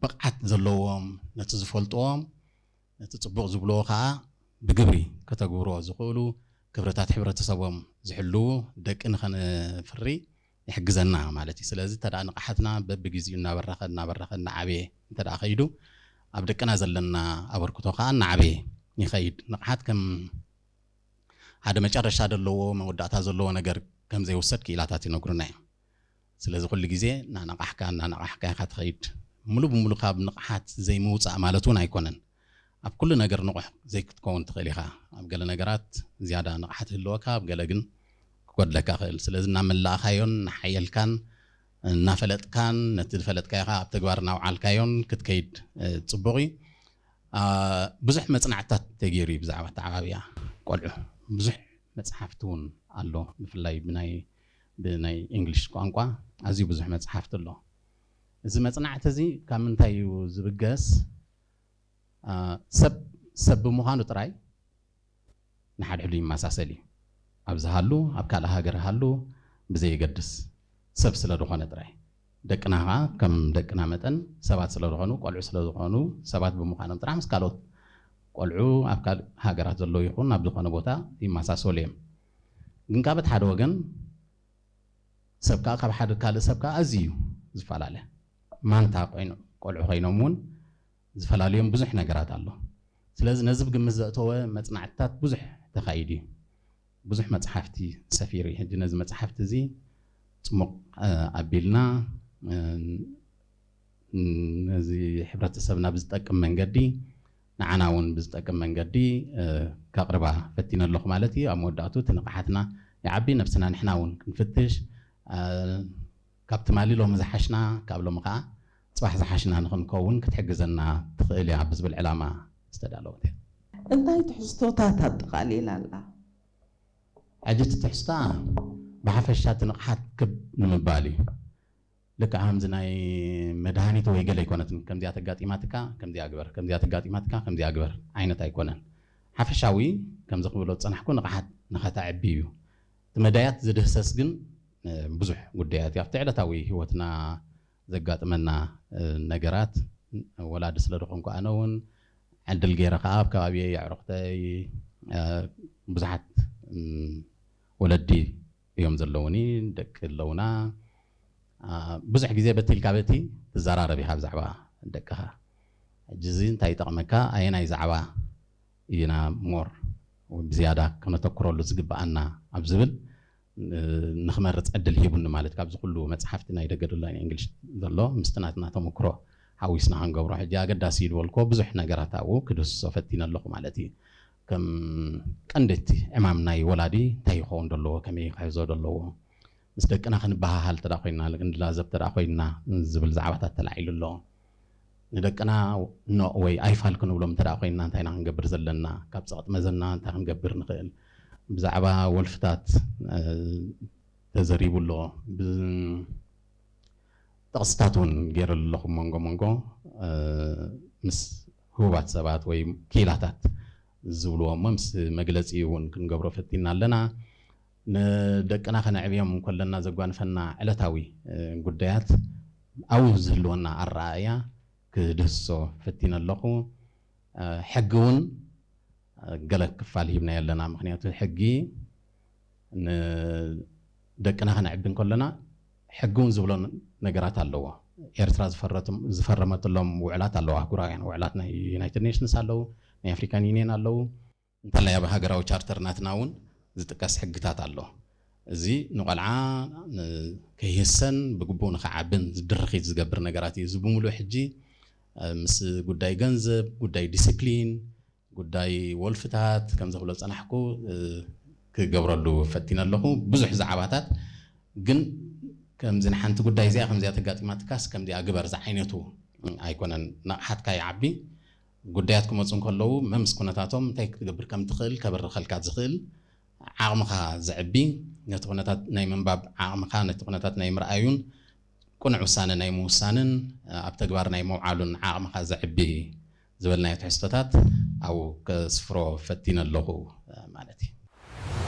ብቕዓት ዘለዎም፣ ነቲ ዝፈልጥዎም፣ ነቲ ጽቡቕ ዝብልዎ ከኣ ብግብሪ ከተግብርዎ ዝኽእሉ፣ ክብርታት ሕብረተሰቦም ዝሕልዉ ደቂ ንኸነፍሪ ይሕግዘና ማለት እዩ። ስለዚ እንተ ደኣ ንቕሓትና በብግዜኡ እናበረኸ እናበረኸ እናዓበየ እንተ ደኣ ከይዱ፣ ኣብ ደቅና ዘለና ኣበርክቶ ከኣ እናዓበየ ይኸይድ። ንቕሓት ከም ሓደ መጨረሻ ዘለዎ፣ መወዳእታ ዘለዎ ነገር ከም ዘይውሰድ ክኢላታት ይነግሩና እዮም። ስለዚ ኩሉ ግዜ እናነቓሕካ እናነቓሕካ ኢኻ ትኸይድ። ሙሉ ብሙሉ ካብ ንቕሓት ዘይምውጻእ ማለት እውን ኣይኮነን። ኣብ ኩሉ ነገር ንቑሕ ዘይክትከውን ትኽእል ኢኻ። ኣብ ገለ ነገራት ዝያዳ ንቕሓት ይህልወካ፣ ኣብ ገለ ግን ክጎድለካ ይኽእል። ስለዚ እናመላእኻዮን እናሓየልካን እናፈለጥካን ነቲ ዝፈለጥካዮ ከዓ ኣብ ተግባር እናውዓልካዮን ክትከይድ፣ እ፣ ጽቡቕ እዩ። አ፣ ብዙሕ መጽናዕትታት ተገይሩ እዩ ብዛዕባ ኣተዓባብያ ቆልዑ። ብዙሕ መጽሓፍቲ እውን ኣሎ። ብፍላይ ብናይ፣ ብናይ እንግሊሽ ቋንቋ ኣዝዩ ብዙሕ መጽሓፍቲ ኣሎ። እዚ መጽናዕቲ እዚ ካብ ምንታይ እዩ ዝብገስ? አ፣ ሰብ፣ ሰብ ብምዃኑ ጥራይ ንሓድሕዱ ይመሳሰል እዩ። ኣብዚ ሃሉ፣ ኣብ ካልእ ሃገር ሃሉ ብዘየገድስ፣ ሰብ ስለ ዝኾነ ጥራይ። ደቅና ኸዓ ከም ደቅና መጠን ሰባት ስለ ዝኾኑ፣ ቆልዑ ስለ ዝኾኑ፣ ሰባት ብምዃኖም ጥራሕ ምስ ካልኦት ቆልዑ ኣብ ካልእ ሃገራት ዘለዉ ይኹን ኣብ ዝኾነ ቦታ ይመሳሰሉ እዮም። ግን ካብ እቲ ሓደ ወገን ሰብ ከኣ ካብ ሓደ ካልእ ሰብ ከኣ ኣዝዩ እዩ ዝፈላለ። ማንታ ኮይኑ፣ ቆልዑ ኮይኖም እውን ዝፈላለዮም ብዙሕ ነገራት ኣሎ። ስለዚ ነዚ ብግምት ዘእተወ መጽናዕትታት ብዙሕ ተኻይዱ እዩ። ብዙሕ መጽሓፍቲ ሰፊሩ እዩ። ሕጂ ነዚ መጽሓፍቲ እዚ ጽሙቕ፣ እ፣ ኣቢልና፣ እ፣ ነዚ ሕብረተሰብና ብዝጠቅም መንገዲ፣ ንዓና እውን ብዝጠቅም መንገዲ፣ እ፣ ከቕርባ ፈቲነ ኣለኹ ማለት እዩ። ኣብ መወዳእቱ እቲ ንቕሓትና ይዓቢ፣ ነብስና ንሕና እውን ክንፍትሽ፣ እ፣ ካብ ትማሊ ሎሚ ዝሓሽና፣ ካብ ሎሚ ከኣ ጽባሕ ዝሓሽና ንኽንከውን ክትሕግዘና ትኽእል እያ ብዝብል ዕላማ ዝተዳለወት እያ። እንታይ ትሕዝቶታት ኣጠቓሊላ ኣላ? ሕጂ እቲ ትሕዝታ ብሓፈሻ እቲ ንቕሓት ክብ ንምባል እዩ። ልክዕ ከምዚ ናይ መድሃኒት ወይ ገለ ኣይኮነትን። ከምዚኣ ተጋጢማትካ ከምዚኣ ግበር፣ ከምዚኣ ተጋጢማትካ ከምዚኣ ግበር ዓይነት ኣይኮነን። ሓፈሻዊ ከምዚ ክብሎ ዝጸናሕኩ ንቕሓት ንኸተዕቢ እዩ። እቲ መዳያት ዝድህሰስ ግን፣ እ፣ ብዙሕ ጉዳያት እዩ። ኣብቲ ዕለታዊ ህይወትና ዘጋጥመና፣ እ፣ ነገራት፣ ወላዲ ስለ ዝኾንኩ ኣነ እውን ዕድል ገይረ ከኣ ኣብ ከባቢየይ ኣዕሩኽተይ፣ እ፣ ብዙሓት፣ እም፣ ወለዲ እዮም ዘለውኒ፣ ደቂ ኣለውና። አ፣ ብዙሕ ግዜ በቲ ኢልካ በቲ ትዘራረብ ኢኻ ብዛዕባ ደቅኻ። ሕጂ እዚ እንታይ ይጠቕመካ? ኣየናይ ዛዕባ ኢና ሞር ወይ ብዝያዳ ከነተኩረሉ ዝግብኣና ኣብ ዝብል፣ እ፣ ንኽመርጽ ዕድል ሂቡኒ ማለት። ካብዚ ኩሉ መጽሓፍቲ ናይ ደገ ዘሎ ናይ እንግሊሽ ዘሎ ምስቲ ናትና ተመክሮ ሓዊስና ክንገብሮ። ሕጂ ኣገዳሲ እዩ ዝበልክዎ ብዙሕ ነገራት ኣብኡ ክድህስሶ ፈቲነ ኣለኹ ማለት እዩ። ከም ቀንዲ እቲ ዕማም ናይ ወላዲ እንታይ ይኸውን ዘለዎ፣ ከመይ ክሕዞ ዘለዎ፣ ምስ ደቅና ክንበሃሃል እንተ ደኣ ኮይንና፣ ክንላዘብ እንተ ደኣ ኮይንና ዝብል ዛዕባታት ተላዒሉ ኣሎ። ንደቅና ኖእ ወይ ኣይፋል ክንብሎም እንተ ደኣ ኮይንና እንታይ ኢና ክንገብር ዘለና፣ ካብ ጸቕጢ መዘና እንታይ ክንገብር ንኽእል፣ ብዛዕባ ወልፍታት፣ እ፣ ተዘሪቡ ኣሎ። ብ-፣ ጥቕስታት እውን ገይረሉ ኣለኹ መንጎ መንጎ፣ እ፣ ምስ ህቡባት ሰባት ወይ ክኢላታት ዝብልዎ እሞ ምስ መግለጺ እውን ክንገብሮ ፈቲና ኣለና። ንደቅና ከነዕብዮም እንከለና ዘጓንፈና ዕለታዊ፣ እ፣ ጉዳያት ኣብኡ ዝህልወና ኣረኣእያ ክድህስሶ ፈቲነ ኣለኹ። እ፣ ሕጊ እውን፣ እ፣ ገለ ክፋል ሂብናዮ ኣለና። ምኽንያቱ ሕጊ ንደቅና ከነዕቢ እንከለና ሕጊ እውን ዝብሎ ነገራት ኣለዎ። ኤርትራ ዝፈረትም-፣ ዝፈረመትሎም ውዕላት ኣለዉ፣ ኣህጉራውያን ውዕላት ናይ ዩናይትድ ኔሽንስ ኣለዉ፣ ናይ ኣፍሪካን ዩኒየን ኣለዉ። እንተላይ ኣብ ሃገራዊ ቻርተር ናትና እውን ዝጥቀስ ሕግታት ኣሎ። እዚ ንቆልዓ ን-፣ ከይህሰን ብግቡእ ንኸዓብን ዝድርኺት ዝገብር ነገራት እዩ። እዚ ብምሉእ ሕጂ፣ እ፣ ምስ ጉዳይ ገንዘብ፣ ጉዳይ ዲሲፕሊን፣ ጉዳይ ወልፍታት ከም ዘኽብሎ ዝጸናሕኩ፣ እ፣ ክገብረሉ ፈቲነ ኣለኹ። ብዙሕ ዛዕባታት ግን ከምዚ ንሓንቲ ጉዳይ እዚኣ ከምዚኣ ተጋጢማትካስ ከምዚኣ ግበር ዝዓይነቱ ኣይኮነን። ንቕሓትካ ይዓቢ። ጉዳያት ክመጹ እንከለዉ መምስ ኩነታቶም እንታይ ክትገብር ከም ትኽእል ከበርኸልካ ዝኽእል ዓቕምኻ ዘዕቢ፣ ነቲ ኩነታት ናይ ምንባብ ዓቕምኻ፣ ነቲ ኩነታት ናይ ምርኣዩን ቅኑዕ ውሳነ ናይ ምውሳንን ኣብ ተግባር ናይ ምውዓሉን ዓቕምኻ ዘዕቢ ዝበልናዮ ትሕዝቶታት ኣብኡ ከስፍሮ ፈቲነ ኣለኹ ማለት እዩ።